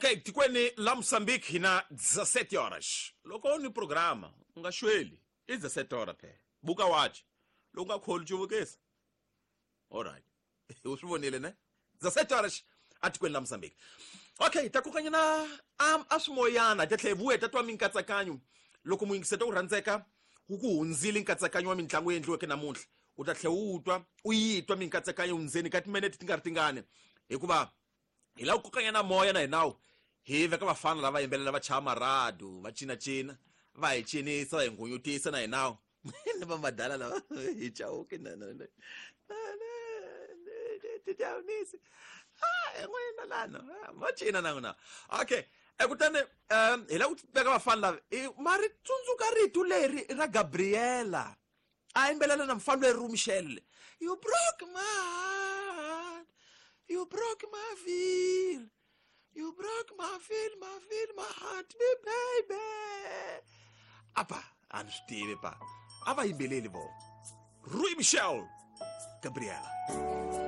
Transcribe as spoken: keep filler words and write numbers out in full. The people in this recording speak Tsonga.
Okay, tikweni la Mozambique hi na dezessete horas. Loko ni programa u nga xweli, i dezessete horas phela. Buka wachi loko nga kholi cuvukisa. Alright, u swi vonile ne? Dezessete horas atikweni la Mozambique. Okay, ta kokanyana a a swimoyana ta tlhela hi vuya ta twa minkatsakanyo. Loko muyingiseta u rhandzeka wu ku hundzile nkatsakanyo wa mitlangu yi endliweke namuntlha, u ta tlhela u twa u yi twa minkatsakanyo ndzeni ka timinete ti nga ri tingani, hikuva hi lava ku kokanyana moya na hinawu hi veka vafana lava yimbelela, va chaya maradu, va cinacina, va hi cinisa, va hi nghunyutisa na hinawu ni va madala lava hi chauke na na na tidyawunisi n'wina lana va cina na n'wina. Okay, e kutani um hi lava ku veka vafana lava ma ri tsundzuka rito leri ra Gabriela a yimbelela na mufana leri Michelle: "You broke my heart, you broke my feel, you broke my feel, my feel, my heart, me baby." Apa a ni swi tivi pa a va yimbeleli vo Rui Michel, Gabriela.